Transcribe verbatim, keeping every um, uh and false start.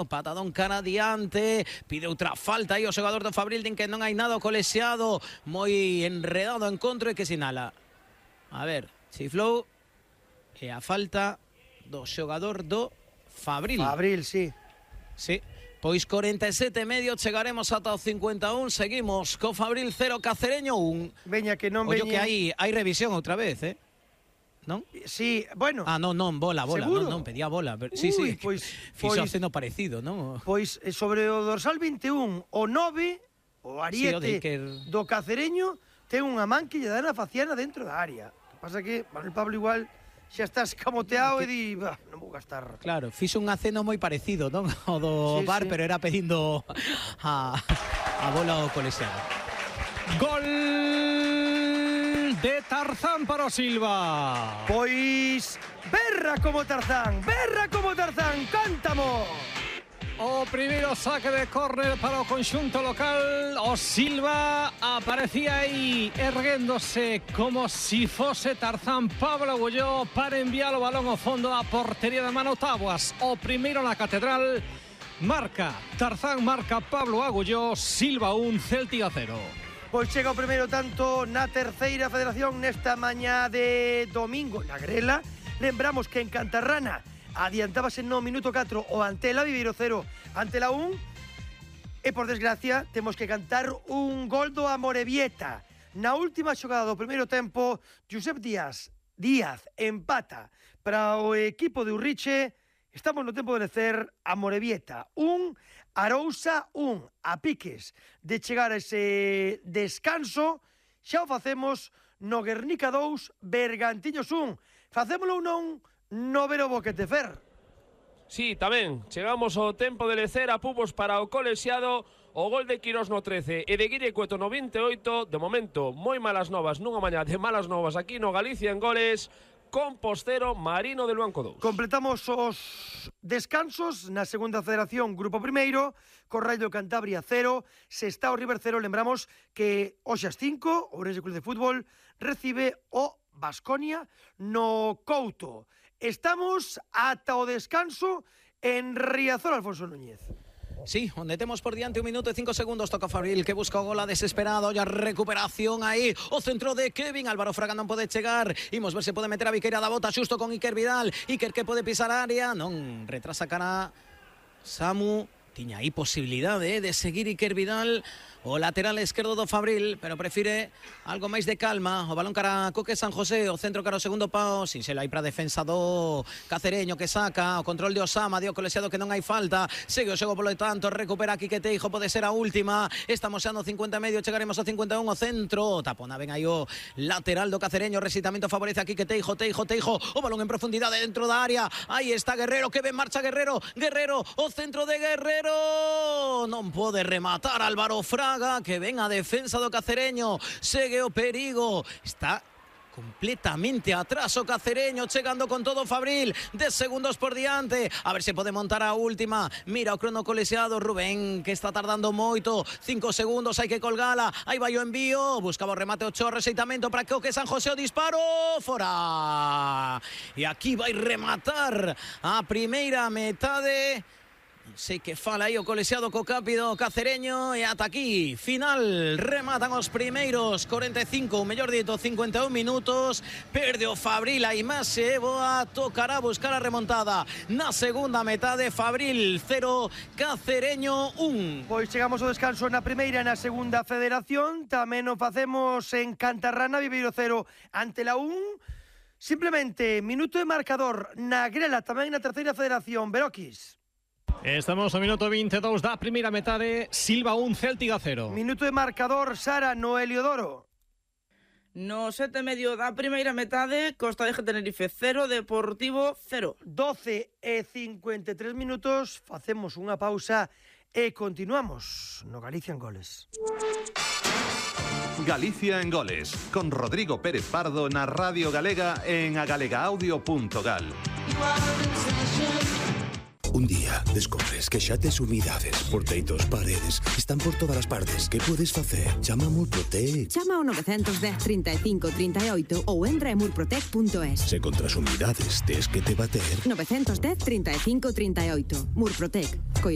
Patadón cara adiante, pide outra falta aí o xogador do Fabril, din que non hai nada colexiado, moi enredado en contra e que sinala. A ver, chiflou e a falta do xogador do Fabril. Fabril, sí. Sí, pois corenta e sete e medio chegaremos ata o cincuenta e un, seguimos co Fabril cero, Cacereño un. Veña que non Ollo veña. que hai, hai revisión outra vez, eh? Non? Sí, bueno. Ah, non, non, bola, bola, seguro? non, non, pedía bola. Sí, Ui, sí, pois, fixo pois, aceno parecido, non? Pois sobre o dorsal vinte e un, o nove, o ariete Sí, o Iker... do Cacereño, ten unha man que lle dá na faciana dentro da área. O que pasa que Manuel Pablo igual xa está escamoteado que... e di, bah, non vou gastar. Claro, fixo un aceno moi parecido, non? O do sí, bar, sí. pero era pedindo a, a bola ao colexiado. Gol de Tarzán para o Silva. Pois berra como Tarzán, berra como Tarzán, cántamo. O primeiro saque de córner para o conxunto local. O Silva aparecía aí erguéndose como si fose Tarzán Pablo Agulló para enviar o balón ao fondo a portería de Mano Taboas. O primeiro na Catedral. Marca Tarzán, marca Pablo Agulló. Silva un, Céltiga cero. Pois chega o primeiro tanto na terceira federación nesta mañá de domingo na Grela. Lembramos que en Cantarrana adiantábase no minuto catro o Antela, Viveiro cero, Antela un. E por desgracia temos que cantar un gol do Amorebieta. Na última xogada do primeiro tempo, Josep Díaz Díaz empata para o equipo de Urriche. Estamos no tempo de lecer Amorebieta un, Arousa un, a piques de chegar a ese descanso. Xa o facemos no Guernica dous, Bergantiños un. Facémolo ou non no Vero Boquete, Fer? Sí, tamén. Chegamos ao tempo de lecer a pubos para o colexiado. O gol de Quirós no trece e de Guille Cueto no vinte e oito. De momento, moi malas novas nunha mañá de malas novas aquí no Galicia en goles. Compostero, Marino de Luanco dous. Completamos os descansos na segunda federación, Grupo Primeiro, Corraio Cantabria cero, Sestao River cero. Lembramos que hoxe ás cinco, o Ourense Club de Fútbol recibe o Baskonia no Couto. Estamos ata o descanso en Riazor, Alfonso Núñez. Sí, onde temos por diante un minuto e cinco segundos. Toca Fabril, que busca o gol a desesperado. E a recuperación aí, o centro de Kevin. Álvaro Fraga non pode chegar. Imos ver se pode meter a Viqueira da bota xusto con Iker Vidal. Iker que pode pisar a área. Non, retrasa cara Samu. Tiña aí posibilidade eh, de seguir Iker Vidal, o lateral esquerdo do Fabril, pero prefire algo máis de calma. O balón cara a Coque San José, o centro cara ao segundo pau, sin selo aí para a defensa do Cacereño, que saca o control de Osama, dio colexiado que non hai falta, segue o xogo polo tanto, recupera Quique Teijo, pode ser a última. Estamos xa no cincuenta e medio, chegaremos ao cincuenta e un, o centro, tapona ben aí o lateral do Cacereño, resitamento favorece a Quique Teijo, Teijo, Teijo, o balón en profundidade dentro da área, aí está Guerrero, que ben marcha Guerrero, Guerrero, o centro de Guerrero, non pode rematar Álvaro Fraga, que ven a defensa do Cacereño, segue o perigo, está completamente atrás o Cacereño, chegando con todo Fabril, dez segundos por diante, a ver se pode montar a última. Mira o crono colexiado, Rubén, que está tardando moito, cinco segundos, hai que colgala, aí vai o envío, buscaba o remate o Chor, rexeitamento para que San José, o disparo, fora, e aquí vai rematar a primeira metade. Sei que fala aí o colexiado co cápido Cacereño, e ata aquí final, rematan os primeiros corenta e cinco, mellor dito cincuenta e un minutos. Perde o Fabril, a imaxe boa, tocará buscar a remontada na segunda metade. Fabril cero, Cacereño un. Pois chegamos ao descanso na primeira e na segunda federación. Tamén o facemos en Cantarrana, Viveiro cero, Antela un. Simplemente, minuto de marcador na Grela, tamén na terceira federación, Beroquis. Estamos no minuto vinte e dous da primeira metade, Silva un, Céltiga cero. Minuto de marcador, Sara, no Heliodoro. No sete e medio da primeira metade, Costa de Tenerife cero, Deportivo cero. doce e cincuenta e tres minutos, facemos unha pausa e continuamos no Galicia en Goles. Galicia en Goles, con Rodrigo Pérez Pardo na Radio Galega en agalegaaudio punto gal. Un día descubres que xa tes humidades por teitos, paredes, están por todas as partes. Que podes facer? Chama a Murprotec. Chama ao nove un cero, trinta e cinco, trinta e oito ou entra en murprotec punto es. Se contra as humidades tes que te bater. nove un cero, trinta e cinco, trinta e oito. Murprotec.